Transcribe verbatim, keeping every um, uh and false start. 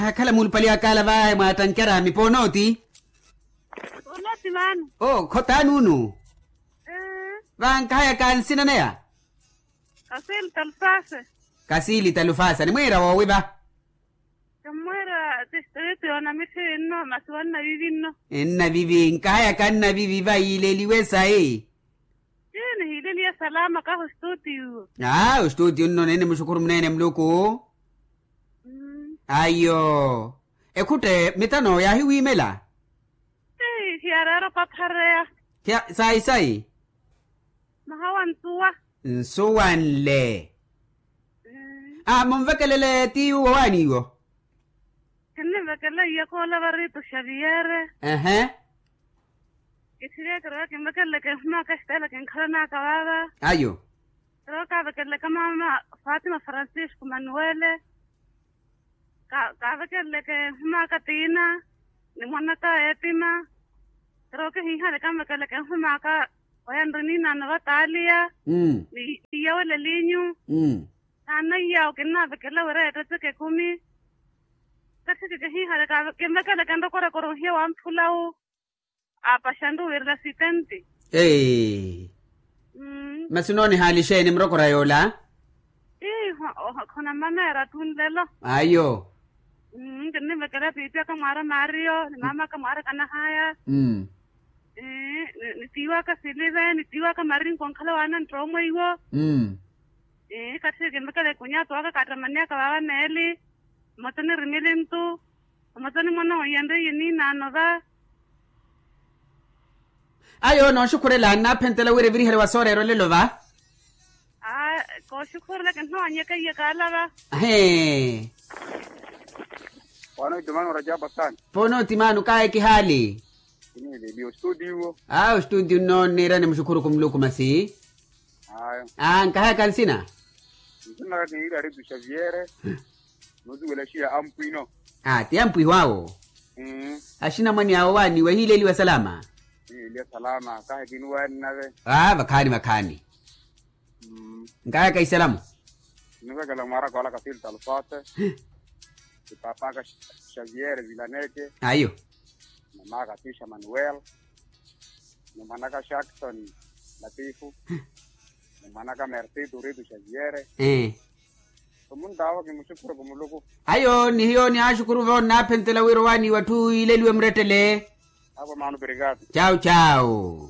Akhala muulupali akaala vahe mwaattankerami ponooti. Ponooti maani. Oo khotaani unu. Vankahayaka nsina neya. Kasili talufasa. Kasili talufasa nimwiira woowi va? Kimmwiira tistriti yoona mithi nno masi wa nnavivi nno. Nnavivi nkahayaka nnavivi va yiileliwe sayi. Ii nihiileliye salama kahi ostutiyo. Aa ostutiyo nno neene muxukhuru muneene muluku. Ayo. Ekhutte mitano yaahiwiimela. Ii hiyareera opaphareya. Sayi sayi. Mahawa nsuwa. Nsuwa nle. Aa munvekelele ti yuwo waaniwo. Kinnivekela iye koola varitu xaviyere. Ehe. Kithiriye kirowa kinvekeleleke nhumaka xitela kinkhalanaka vava. Ayo. Kirowa kavekeleleke mama fatima francisco manuwele. Kavekeleleke nhumaka tina ni mwanaka etima. Kirowa kihiihale kanvekeleleke nhumaka oya nri niinaano vataaliya. Ni iyawele linyu. Naana iyaawo kinnavekela wira yeettetseke ekumi. Kathiki kihiihale kinvekeleke nrokorakora ohiya wa mphulawu. Aapaxanru wirela sitenti. Masi onoonihaali xeeni murokora yoola? Ii khona mmameera ttu nlelo. Ayo. Kinnivekela piipi aka mwaara mario ni mama aka mwaara kanahaya. Ni tiiwa aka silive ni tiiwa aka marinko nkhala waana nttoomwe iwo. Kathi kinvekela ekunyaatu aka kaattamani aka vaava meeli. Mmote onirimilintu. Mmote onimona ohiya nriiye niinaano va. Ayo nooxukhurela nnaaphentela wira evirihale wa sooreera olelo va. Aa kooxukhurela kinnoonyeka iye kaalava. Ahee. Poona otimano kaaya kihaali. Aa ostuutiyo nno nniirani muxukhuru kumuluku masi. Aa nkahayaka nsina. Nsina naka kiniriya aritu xaviere. Nosuwela xiya ampwino. Aa ti ampwiho awo. Axinamwane awo waaniwa ehiileliwa salama. Ehiileliwa salama kahi kinuwaani nave. Aa vakhaani vakhaani. Nkayaka isalamu. Nivekela mwaaraka wala kasilta alfate. Ipapaka xaviere vilaneke. Ayo. Mamaka tisha manuel. Ni mwanaka jackson latifu. Ni mwanaka mercito rito xaviere. Ee. Omuntawo kimuxukuru kumuluku. Ayo ni hiyo ni axukuru vo nnaphentela wira owaaniwa atthu yiileliwe murettele. Apo maano obrigado. Chau chau.